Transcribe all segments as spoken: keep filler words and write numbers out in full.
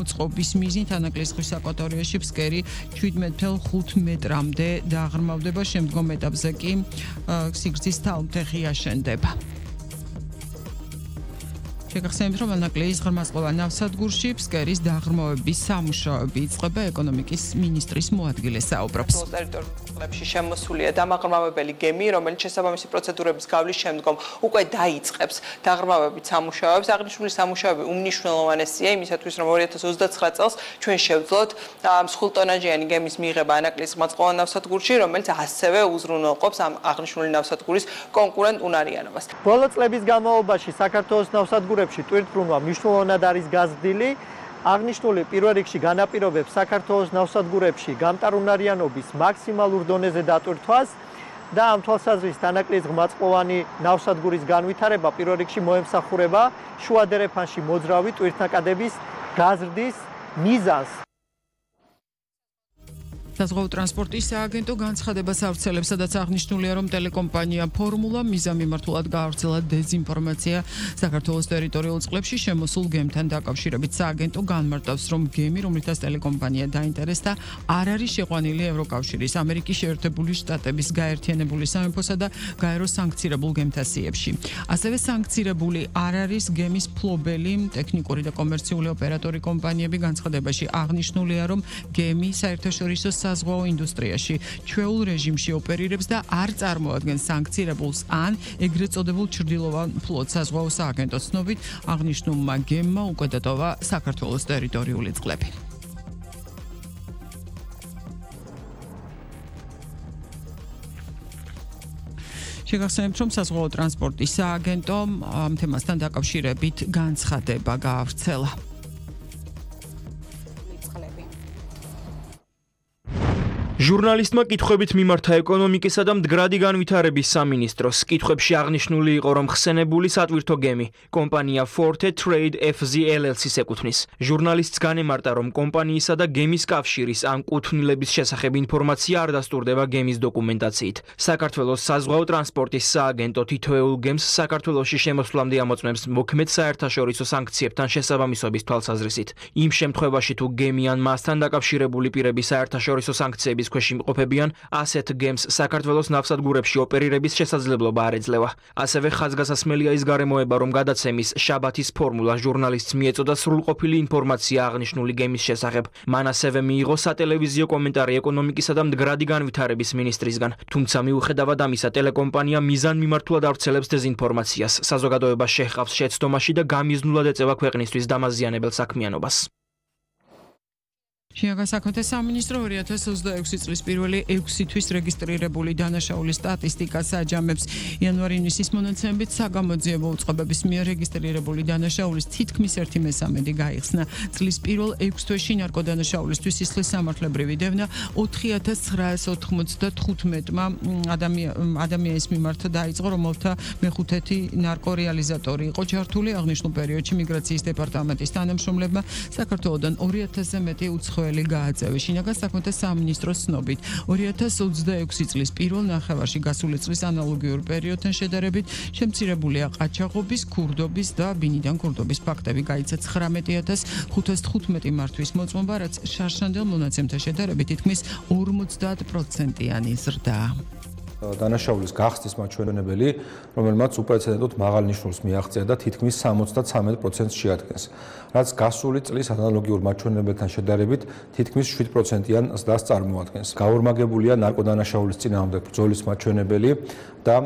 მოწყობის მიზნით ანაკლის ზღვის აკვატორიაში ფსკერი შვიდმეტ ფეხ ხუთ მეტრამდე დააღრმავდება, შემდგომ ეტაპზე კი სიგრძის თავმთეხი აშენდება. შეგახსენებთ, რომ ანაკლის ღრმაწყობა ნავსადგურში ფსკერის დააღრმავების სამუშაოები იწყება, ეკონომიკის მინისტრის მოადგილე საუბრობს. ტერიტორიებში შემოსულია დამაღრმავებელი გემი, რომელიც შესაბამისი პროცედურების გავლის შემდგომ უკვე დაიწყებს დააღრმავებით სამუშაოებს. აღნიშნული სამუშაოები უმნიშვნელოვანესია იმისათვის, რომ ორი ათას ოცდაცხრა წელს ჩვენ შევძლოთ მსხვილტონაჟიანი გემის მიღება ანაკლის ღრმაწყობა ნავსადგურში, რომელიც ასევე უზრუნველყოფს ამ აღნიშნული ნავსადგურის კონკურენტ უნარიანობას. ბოლო წლების განმავლობაში საქართველოს ნავსადგურებში ტვირთბრუნვა მნიშვნელოვნად არის გაზრდილი. აღნიშნული პირველ რიგში განაპირობებს საქართველოს ნავსადგურებში გამტარუნარიანობის მაქსიმალურ დონეზე დატვირთვას და ამ თვალსაზრისით ანაკლის ღრმაწყლოვანი ნავსადგურის განვითარება პირველ რიგში მოემსახურება შუადერეფანში მოძრავი ტვირთნაკადების გაზრდის მიზანს. საზღვაო ტრანსპორტის სააგენტო განცხადებას ავრცელებს, სადაც აღნიშნულია, რომ ტელეკომპანია ფორმულა მიზან მიმართულად გაავრცელა დეზინფორმაცია საქართველოს ტერიტორიულ წყლებში შემოსულ გემთან დაკავშირებით. სააგენტო განმარტავს, რომ გემი, რომლითაც ტელეკომპანია დაინტერესდა, არ არის შეყვანილი ევროკავშირის, ამერიკის შეერთებული შტატების, გაერთიანებული სამეფოსა და გაეროს სანქცირებულ გემთა სიებში. ასევე სანქცირებული არ არის გემის ფლობელი, ტექნიკური და კომერციული ოპერატორი კომპანიები. განცხადებაში აღნიშნულია, რომ გემი საერთაშორისო საზღვაო ინდუსტრიაში ჩვეულ რეჟიმში ოპერირებს და არ წარმოადგენს სანქცირებულს ან ეგრეთ წოდებულ ჩრდილოვან ფლოტს. საზღვაო სააგენტოს ცნობით, აღნიშნულმა გემმა უკვე დატოვა საქართველოს ტერიტორიული წყლები. შეგახსენებთ, რომ საზღვაო ტრანსპორტის სააგენტომ ამ თემასთან დაკავშირებით განცხადება გაავრცელა. ჟურნალისტმა კითხვებით მიმართა ეკონომიკისა და მდგრადი განვითარების სამინისტროს. კითხვებში აღნიშნული იყო, რომ ხსენებული სატვირთო გემი კომპანია Forte Trade F Z L L C-ს ეკუთვნის. ჟურნალისტს განემარტა, რომ კომპანიისა და გემის კავშირის ამ კუთვნილების შესახებ ინფორმაცია არ დასტურდება გემის დოკუმენტაციით. საქართველოს საზღვაო ტრანსპორტის სააგენტო თითოეულ გემს საქართველოში შემოსვლამდე ამოწმებს მოქმედ საერთაშორისო სანქციებთან შესაბამისობის თვალსაზრისით. იმ შემთხვევაში, თუ გემი ან მასთან დაკავშირებული პირები საერთაშორისო სანქციების ქვეშ იმყოფებიან, ასეთ გემს საქართველოს ნავსადგურებში ოპერირების შესაძლებლობა არ ეძლევა. ასევე ხაზგასასმელია ის გარემოება, რომ გადაცემის შაბათის ფორმულა ჟურნალისტს მიეწოდა სრულყოფილი ინფორმაცია აღნიშნული გემის შესახებ. მან ასევე მიიღო სატელევიზიო კომენტარი ეკონომიკისა და მდგრადი განვითარების მინისტრისგან. თუმცა მიუხედავად ამისა, ტელეკომპანია მიზან მიმართულად ავრცელებს დეზინფორმაციას. საზოგადოება შეჰყავს შეცდომაში და გამიზნულად ეწევა ქვეყნისთვის დამაზიანებელ საქმიანობას. შინაგან საქმეთა სამინისტრო ორი ათას ოცდაექვსი წლის პირველი ექვსი თვის რეგისტრირებული დანაშაულის სტატისტიკას აჯამებს. იანვარ-ივნისის მონაცემებით საგამოძიებო უწყებების მიერ რეგისტრირებული დანაშაულის თითქმის ერთი მესამედი გაიხსნა. წლის პირველ ექვს თვეში ნარკოდანაშაულისთვის სისხლის სამართლებრივი დევნა ოთხი ათას ცხრაას ოთხმოცდათხუთმეტმა ადამიანის მიმართ დაიწყო, რომელთა მეხუთედი ნარკორეალიზატორი იყო ჩართული. აღნიშნულ პერიოდში მიგრაციის დეპარტამენტის თანამშრომლებმა საქართველოდან ორი ათასზე მეტი უცხოელი გააწევეს. შინაგან საქმეთა სამინისტროს ცნობით, ორი ათას ოცდაექვსი წლის პირველ ნახევარში გასული წლის ანალოგიურ პერიოდთან შედარებით შემცირებულია ყაჩაღობის, ქურდობის და ბინიდან ქურდობის ფაქტები. გაიცა ცხრამეტი ათას ხუთას თხუთმეტი მართვის მოწმობა, რაც შარშანდელ მონაცემთა შედარებით თითქმის ორმოცდაათ პროცენტიანი ზრდაა. დანაშაულის გახსნის მაჩვენებელი, რომელმაც უპრეცედენტოდ მაღალ ნიშნულს მიაღწია და თითქმის სამოცდათრამეტ პროცენტს შეადგენს, რაც გასული წლის ანალოგიურ მაჩვენებელთან შედარებით თითქმის შვიდ პროცენტიან ზრდას წარმოადგენს. გაორმაგებულია ნარკოდანაშაულის წინააღმდეგ ბრძოლის მაჩვენებელი და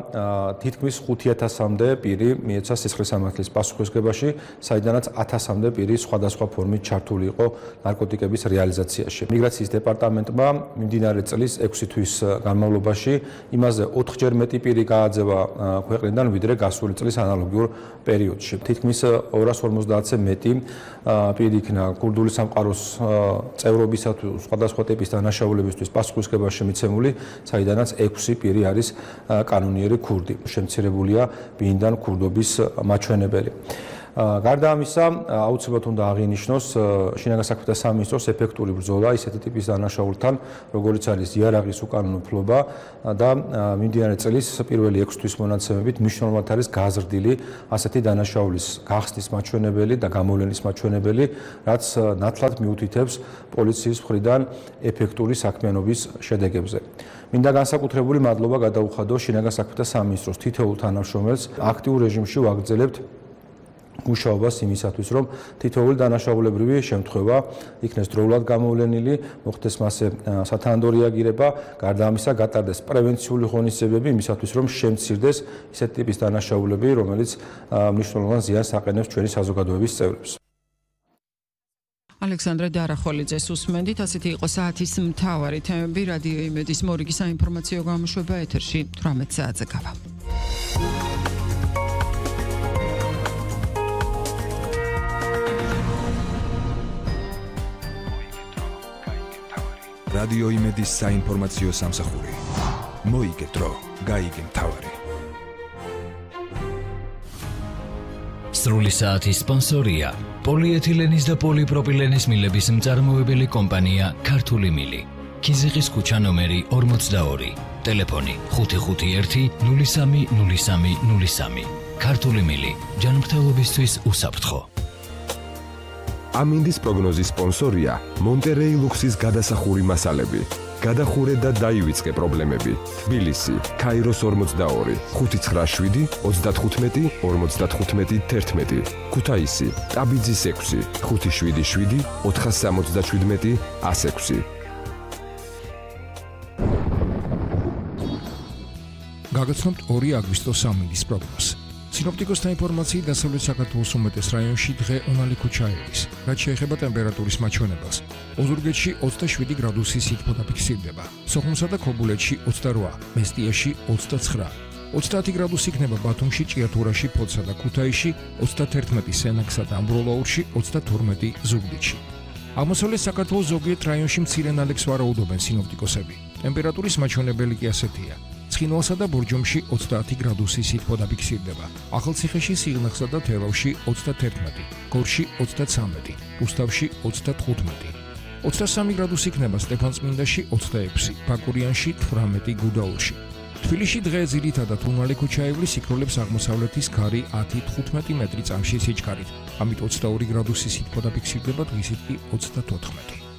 თითქმის ხუთი ათასამდე პირი მიეცა სისხლის სამართლის პასუხისმგებაში, საიდანაც ათასამდე პირი სხვადასხვა ფორმით ჩართული იყო ნარკოტიკების რეალიზაციაში. მიგრაციის დეპარტამენტმა მიმდინარე წლის ექვსი თვის განმავლობაში იმაზე ოთხჯერ მეტი პირი გააძევა ქვეყნიდან, ვიდრე გასული წლის ანალოგიურ პერიოდში. თითქმის ორას ორმოცდაათზე მეტი პირი იქნა ქურდული სამყაროს წევრობისა თუ სხვადასხვა ტიპის დანაშაულებისთვის პასუხისმგებაში მიცემული, საიდანაც ექვსი პირი არის კანონიერი ქურდი. შემცირებულია ბინიდან ქურდობის მაჩვენებელი. გარდა ამისა, აუცილებლად უნდა აღინიშნოს შინაგან საქმეთა სამინისტროს ეფექტური ბრძოლა ისეთი ტიპის დანაშაულთან, როგორიც არის იარაღის უკანონმდებლობა და მიმდინარე წლის პირველი ექვსი თვის მონაცემებით მნიშვნელოვნად არის გაზრდილი ასეთი დანაშაულის გახსნის მაჩვენებელი და გამოვლენის მაჩვენებელი, რაც ნათლად მიუთითებს პოლიციის მხრიდან ეფექტური საქმიანობის შედეგებზე. მინდა განსაკუთრებული მადლობა გადაუხადო შინაგან საქმეთა სამინისტროს თითოეულ თანამშრომელს აქტიურ რეჟიმში ვაგრძელებთ მუშაობას იმისათვის, რომ თითოეული დანაშაულებრივი შემთხვევა იქნეს დროულად გამოვლენილი, მოხდეს მასზე სათანადო რეაგირება, გარდა ამისა გატარდეს პრევენციული ღონისძიებები იმისათვის, რომ შემცირდეს ისეთი ტიპის დანაშაულები, რომელიც მნიშვნელოვან ზიანს აყენებს ჩვენი საზოგადოების წევრებს. ალექსანდრე დარახოლიძეს უსმენდით, ასეთი იყო საათის მთავარი თემები. რადიო იმედის მორიგი საინფორმაციო გამოშვება ეთერში თვრამეტ საათზე გავა. რადიო იმედის საინფორმაციო სამსახური. მოიგეთ დრო, გაიგე მთავარი. სრული საათის სპონსორია პოლიეთილენის და პოლიპროპილენის მილების მწარმოებელი კომპანია ქართული მილი. ქიზიყის ქუჩა ნომერი ორმოცდაორი. ტელეფონი ხუთი ხუთი ერთი ნული სამი ნული სამი ნული სამი. ქართული მილი ჯანმრთელობისთვის უსაფრთხო. ამინდის პროგნოზის სპონსორია მონტერეი ლუქსის გადასახური მასალები. გადახურე და დაივიწყე პრობლემები. თბილისი, ქაიროს ორმოცდაორი, ხუთი ცხრა შვიდი ოცდათხუთმეტი ორმოცდათხუთმეტი თერთმეტი. ქუთაისი, ტაბიძის ექვსი, ხუთი შვიდი შვიდი ოთხას სამოცდაშვიდმეტი ასექვსი. გაგაცნობთ ორი აგვისტოს ამინდის პროგნოზს. სინოპტიკოსთა ინფორმაციით დასავლეთ საქართველოს უმეტეს რაიონში დღე უნალიკო ჩაერის, რაც შეეხება ტემპერატურის მაჩვენებელს. ოზურგეთში ოცდაშვიდი გრადუსი სითბო დაფიქსირდება, სოხუმსა და ქობულეთში ოცდარვა, მესტიაში ოცდაცხრა, ოცდაათი გრადუსი იქნება ბათუმში, ჭიათურაში, ფოთსა და ქუთაისში, ოცდათერთმეტი სენაკსა და ამბროლაურში, ოცდათორმეტი ზუგდიდში. აღმოსავლეთ საქართველოს ზოგიერთ რაიონში მცირე ნალექს ვარაუდობენ სინოპტიკოსები. ტემპერატურის მაჩვენებელი კი ასეთია. ცხინვალსა და ბორჯომში ოცდაათი გრადუსი სითბო დაფიქსირდება, ახალციხეში, სიღნაღსა და თელავში ოცდათერთმეტი, გორში ოცდაცამეტი, რუსთავში ოცდათხუთმეტი. ოცდასამი გრადუსი იქნება სტეფანწმინდაში, ოცდაექვსი, ბაკურიანში, თვრამეტი, გუდაურში. თბილისში დღე ძირითადად უნალიკო ჩაივლის, იქროლებს აღმოსავლეთის ქარი ათი თხუთმეტი მეტრი წამში სიჩქარით, ამით ოცდაორი გრადუსი სითბო დაფიქსირდება, დღისით კი ოცდათოთხმეტი.